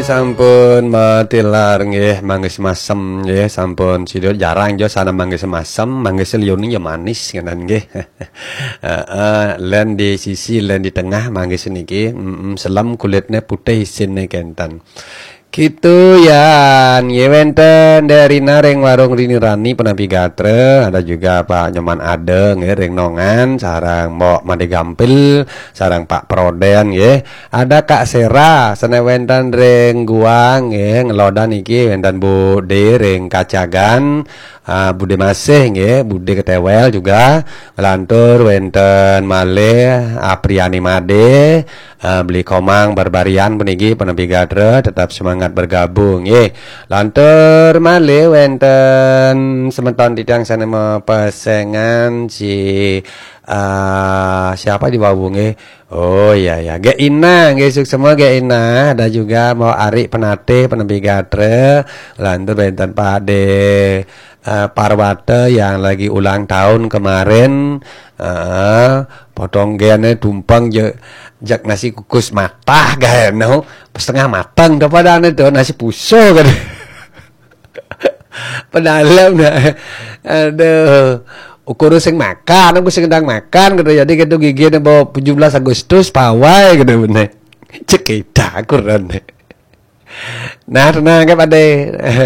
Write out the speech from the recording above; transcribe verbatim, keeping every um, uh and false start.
Sampun matilar nggih, manggis masem nggih, sampun sida jarang jo sana manggis masem, manggis liun ya manis ngenen nggih. Heeh, len di sisi, len di tengah manggis niki, mm, selem kulitnya putih isinnya kenten. Gitu yan, nggih wenten Derina ring warung Rini Rani penapi gatra, ada juga Pak Nyoman Ade nggih ring Nongan, sarang Mbok Made Gampil, sarang Pak Proden nggih. Ada Kak Sera, sane wenten ring Guang nggih, ngelodan iki wenten Bude ring Kacagan, ah, Bude Masih nggih, Bude Ketewel juga, ngelantur wenten malih Apriani Made, ah, Beli Komang Barbarian puniki penapi gatra, tetap semangat bergabung nggih. Lantur malih wenten semeton titiang sane mapesengan si, ah, siapa di wau nggih? Oh iya ya, Gek Ina nggih, suksema Gek Ina, ada juga mau Ari Penatih penapi gatra, lantur wenten Pak De, eh, Parwata yang lagi ulang tahun kemarin, eh, potong gene tumpeng je, jak nasi kukus matah gae no, setengah matang to padane to nasi puso kan. Pedalem nah. Aduh. Ukur sing makan, aku sing ndang makan gitu. Jadi gitu gigi bawa tujuh belas Agustus pawai gitu bener. Cek kita kurang. Nah, tenang ke Pak De.